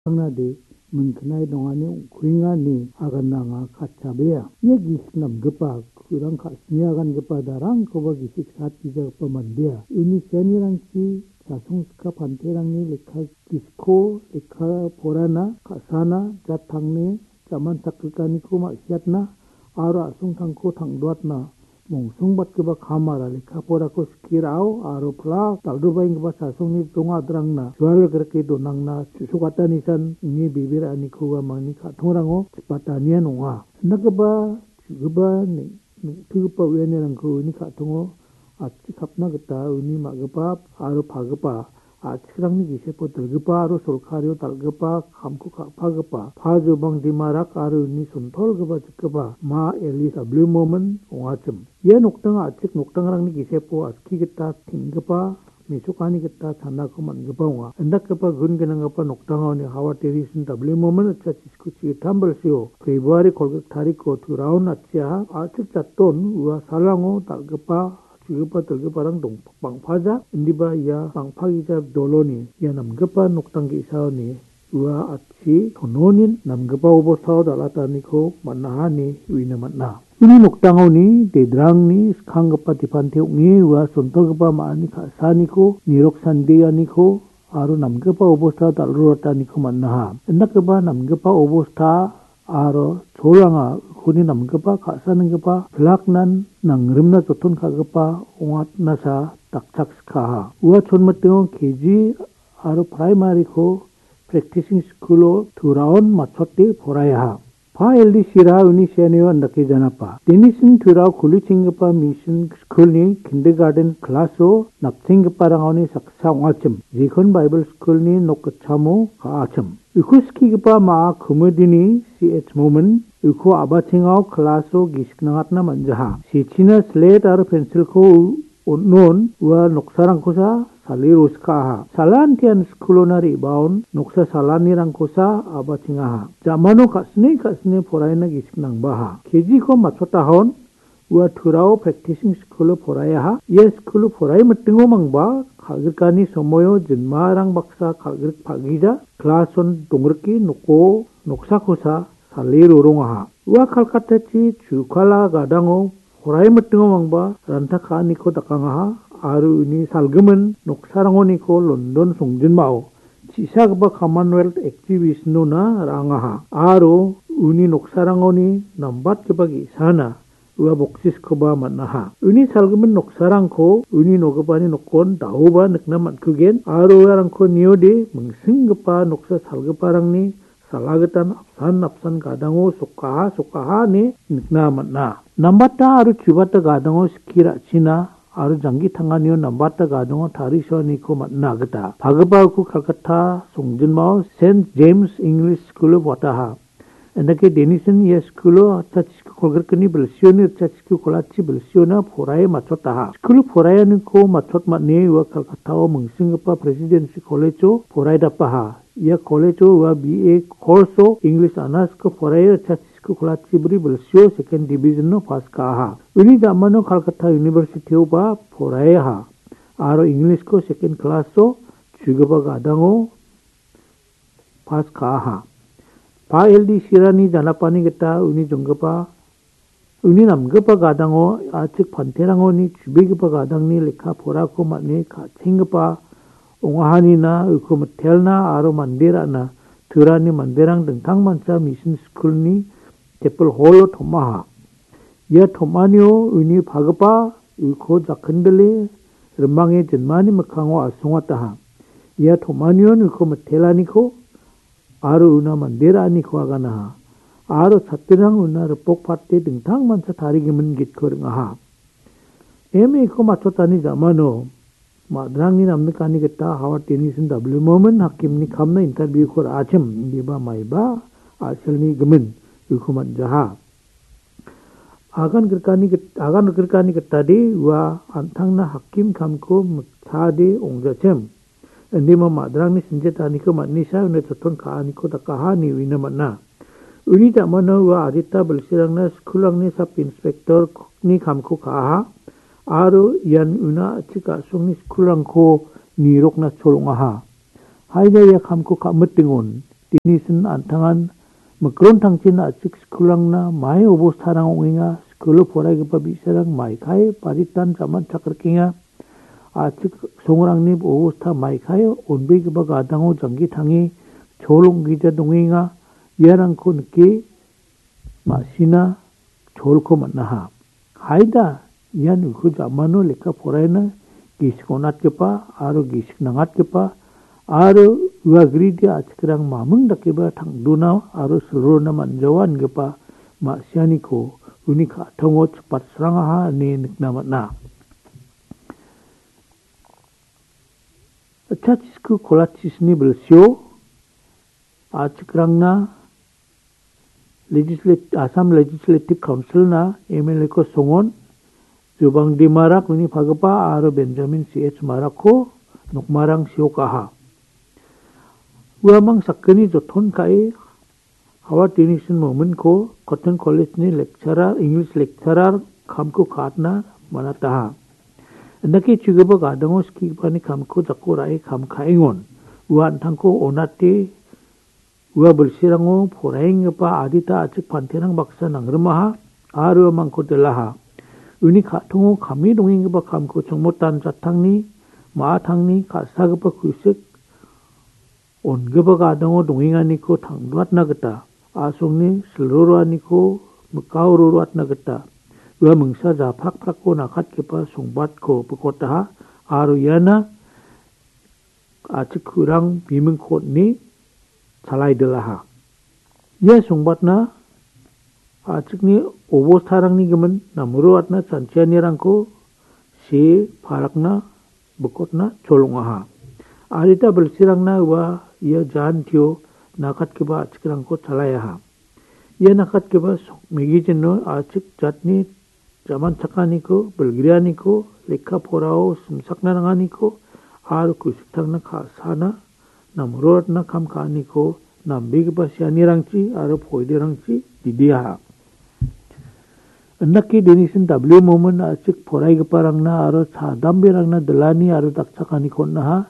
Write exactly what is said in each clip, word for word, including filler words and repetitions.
Anade mingknai dongani ong·kuenga ine aganna anga katchabea. Ia gisik namgipa kurang ka·sini agangipa darangkoba gisik satgijagipa mandea. Uni sianirangchi chasongska panterangni lekka gisikko lekka porana ka·sana jatangni jaman sakrikaniko ma·siatna aro a·songtangko tang·doatna mongsongbatgipa kamara lekka porako skie ra·o aro plak dal·dobaenggipa chasongni dongadrangna jual grike donangna su·sokatanisan uni bebe ra·aniko uamangni ka·tongrango chipatanian ong·a. Indakgipa chu·gipa neng-, neng·tgipa uianirangko uni ka·tongo atchi kapna gita uni ma·gipa aro pagipa a·chikrangni gisepo dilgipa aro sorkario dal·gipa kamko ka·pagipa Pajobang Dimarak aro uni sontolgipa jikgipa Ma Elis Ablumomen ong·achim. Ia nokdanga a·chik nokdangrangni gisepo aski gita teng·gipa mesokani gita chanako man·gipa ong·a. Indakgipa gun gnanggipa nokdangoni Howard Tennyson Ablumomen ritchasi Ku chi gittam bilsio February kolgrik tariko Turaon atchiaha a·chik jatton ua salango dal·gipa, chugipa, dilgiparang dong-, bang·paja, indiba ia bang·pagija doloni ia namgipa nokdang ge·saoni ua atchi tononin namgipa obostao dal·ataniko man·aha ine uina man·a. Uni nokdangoni dedrangni skanggipa dipante ong·e ua sontolgipa ma·ani ka·saaniko nirok sandeaniko aro namgipa obosta dal·rurataniko man·aha. Indakgipa namgipa obosta aro cholanga ukuni namgipa ka·sanenggipa pilaknan nangrimna joton ka·gipa ong·atnasa dakchakskaha. Ua chonmitingo K G aro praimari-ko practicing school-o Turaon matchote poraiaha. Pa L D Sira uni senio indake janapa. Denisin Turao kulichenggipa mission school-ni kindergarten class-o napchenggiparangoni saksa ong·achim. Jekon Bible School-ni nok gitchamo ka·achim. Uko skigipa ma·a komidini C H Momin uko a·bachengao class-o gisik nangatna man·jaha. Sechina slate aro pencil-ko on·on ua noksarangkosa sale rosikaha. Salantian skulona re·baon noksa salanirangkosa a·bachengaha. Jamano ka·sine ka·sine poraina gisik nangbaha. K G-ko matchotahon ua Turao practicing skulo poraiaha. Ia skulo porai mitingo mangba kal·grikani somoio jinmarang baksa kal·grik pagija klason dongrike noko noksakosa sale rorongaha. Ua Kalkatachi chukala gadango porai mitingo mangba ranta ka·aniko dakangaha aro uni salgimin noksarangoniko London songjinmao chisagipa Commonwealth Exhibition-ona ra·angaha aro uni noksarangoni nambatgipa ge·sana ua boksiskoba man·aha. Uni salgimin noksarangko uni nogipani nokon da·oba nikna man·kugen aro uarangko niode mingsinggipa noksa salgiparangni salagitan apsan apsan gadango sokaha sokaha ine nikna man·a. Nambata aro chubata gadango skie ra·china aro janggi tanganio nambata gadango tarisoaniko man·na gita. Pagipa uko Calcutta songjinmao Saint James English School-o wataha. Indake Denison ia skulo ritchasku kolgrikni bilsioni ritchasku kolachi bilsiona poraie matchotaha. Skulo poraianiko matchotmane ua Calcutta-o mingsinggipa Presidency College-o poraidapaha. Ia college-o ua B A course-o English honours-ko poraie ritchasku kolachi bri bilsio second division-o pass ka·aha. Uni jamano Calcutta University-oba poraiaha. Aro English-ko second class-o chugipa gadango pass ka·aha. Pa L D Sirani janapani gita uni jonggipa, uni namgipa gadango a·chik panterangoni chubegipa gadangni lekka porako man·e ka·chenggipa ong·ahanina uko mitelna aro mande ra·na Turani manderang dingtangmancha mission school-ni chapel hall-o tom·aha. Ia tom·anio uni pagipa uko jakindile rimange jinmani mikkango asongataha. Ia tom·anion uko mitelaniko aro una mande ra·aniko aganaha. Aro chatrirang una ripok pate dingtangmancha tarigimin gitko ring·aha. M A-ko matchotani jamano madrangni namnikani gita Howard Denison W. Momin hakimni kamna interview-ko ra·achim, indiba maiba a·selni gimin uko man·jaha. Agan grikani git-, agan grikani gitade ua an·tangna hakim kamko miktade ong·jachim. Indima madrangni sinjetaniko man·nisa una joton ka·aniko dakaha ine uina man·a. Uni jamano ua adita bilsirangna skulrangni sub inspector-ni kamko ka·aha aro ian una a·chik a·songni skulrangko nirokna chol ong·aha. Haida ia kamko ka·mitingon, Dinisin an·tangan mikron tangchin a·chik skulrangna mai obostarang ong·enga. Skulo poraigipa bi·sarang maikai baritan jaman chakrikenga. A·chik songrangni obosta maikai onbegipa gadango janggi tange chol ong·gija dongenga. Iarangko nike ma·sina cholko man·aha. Haida ian uko jamano lekka poraina gisik on·atgipa aro gisik nangatgipa aro ua gridi a·chikrang maming dakeba tangdona aro silrona man·jawa ingipa ma·sianiko uni ka·tongo chipatsrangaha ine nikna man·a. Chachis-, Kolachis-ni bilsio a·chikrangna Legislat-, Assam Legislative Council-na M L A-ko songon, Jubang D. Marak uni pagipa aro Benjamin C H Marakko nokmarang siokaha. Uamang sakgni joton ka·e Howard Denison Momin-ko Cotton College-ni lecturer, English lecturer kamko ka·atna man·ataha. Indake chugipa gadango skigipani kamko jako ra·e kam ka·engon. Ua an·tangko on·ate ua bilsirango poraienggipa adita a·chik panterang baksa nangrimaha aro uamangko dilaha. Uni ka·tongo kame dongenggipa kamko chongmotan jattangni, ma·atangni ka·sagipa kusik on·gipa gadango dongenganiko tangdoatna gita, a·songni silroroaniko mikao roroatna gita, ua mingsa japrakprako nakatgipa songbatko bikotaha aro iana a·chik ku·rang bimingko on·e chalaidilaha. Ia songbatna a·chikni obostarangni gimin namroatna chanchianirangko see parakna bikotna cholongaha. Adita bilsirangna ua ia jantio nakatgipa a·chikrangko chalaiaha. Ia nakatgipa sok-, magazine-o a·chik jatni jaman chakaniko, bilgrianiko, lekka porao simsakna nanganiko, aro kusiktangna ka·sana, namroatna kam ka·aniko, nambegipa sianirangchi aro poiderangchi didiaha. Indake Denison W. Momin a·chik poraigiparangna aro chadamberangna dilani aro dakchakaniko on·aha.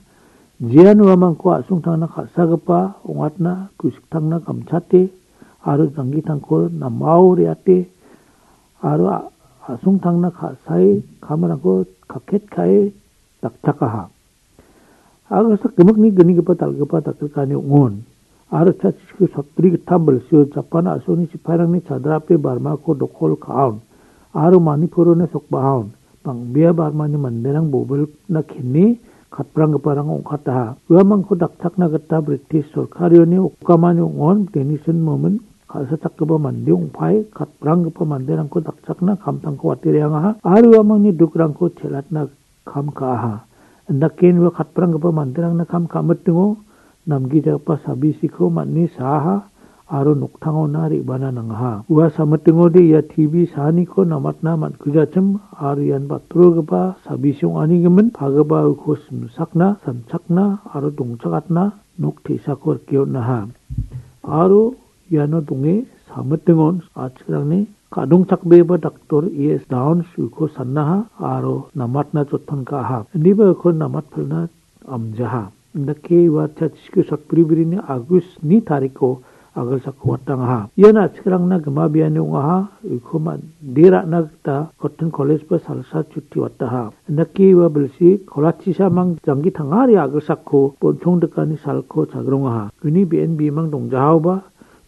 Jean uamangko a·songtangna ka·sagipa ong·atna kusiktangna gamchate aro janggitangko namao re·ate aro a-, a·songtangna ka·sae kamrangko kaket ka·e dakchakaha. Agilsak gimikni gnigipa dal·gipa dakgrikani ong·on. Aro chachiko sotbri gittam bilsio Japan a·songni sipairangni chadrape Barmako dokol ka·aon. Aro Manipurona sokbahaon. Bang·bea Barmani manderang bobilna kene katpranggiparang ong·kataha. Uamangko dakchakna gita British sorkarioni okamani ong·on Denison Momin ka·sachakgipa mande ong·pae katpranggipa manderangko dakchakna kamtangko wate re·angaha. Aro uamangni dukrangko chelatna kam ka·aha. Indake ua katpranggipa manderangna kam ka·mitingo namgijagipa sabisiko man·e saaha aro noktangona re·bana nangaha. Ua samitingode ia T V saaniko namatna man·kujachim aro ian batrogipa sabisi ong·anigimin pagipa uko simsakna, sanchakna aro dongchakatna nok te·sako rike on·aha. Aro iano donge samitingon a·chikrangni ka·dongchakbegipa daktor E S Downs uko sannaha aro namatna joton ka·aha. Indiba uko namatpilna amjaha. Indake ua chachiko sotbri brini August ni tariko agilsako watangaha. Ian a·chikrangna gima biani ong·aha, uko mande ra·na gita Cotton College ba salsa chuti wataha. Indake ua bilsi kolachisamang janggi tangari agilsako bonchong dikani salko chagrongaha. Uni be·en bimang dongjahaoba,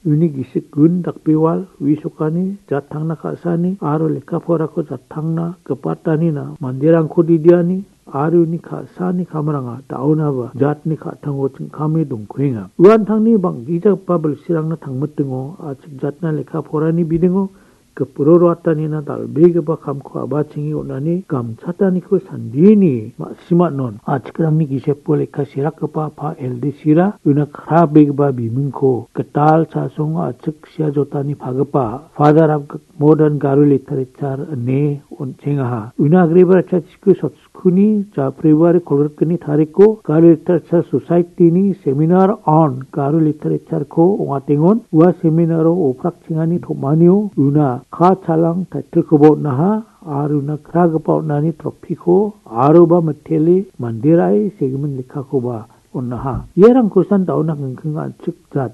uni gisik gun dakbewal, wisokani, jattangna ka·sani aro lekka porako jattangna gipatanina manderangko didiani, aro uni ka·sani kamranga da·onaba jatni ka·tango chingkame dongkuenga. Uantangni bang·gijagipa bilsirangna tangmitingo, a·chik jatna lekka porani bidingo, gipro roatanina dal·begipa kamko a·bachengi on·ani gamchataniko sandieni ma·simanon a·chikrangni gisepo lekka serakgipa pa L D Sira una krabegipa bimingko gital chasongo a·chik sia jotani pagipa Father of Modern Garo Literature ine on·chengaha. Una agreba chachiko sotskuni ja February kolgrikgni tariko Garo Literature Society-ni Seminar on Garo Literature-ko ong·atengon. Ua seminaro oprakchengani tom·anio una Ka Chalang title-koba on·aha, aro una kragipa on·ani trophy-ko aroba mitele manderae segimin lekkakoba on·aha. Iarang kristian daona kengkenga an·chik jat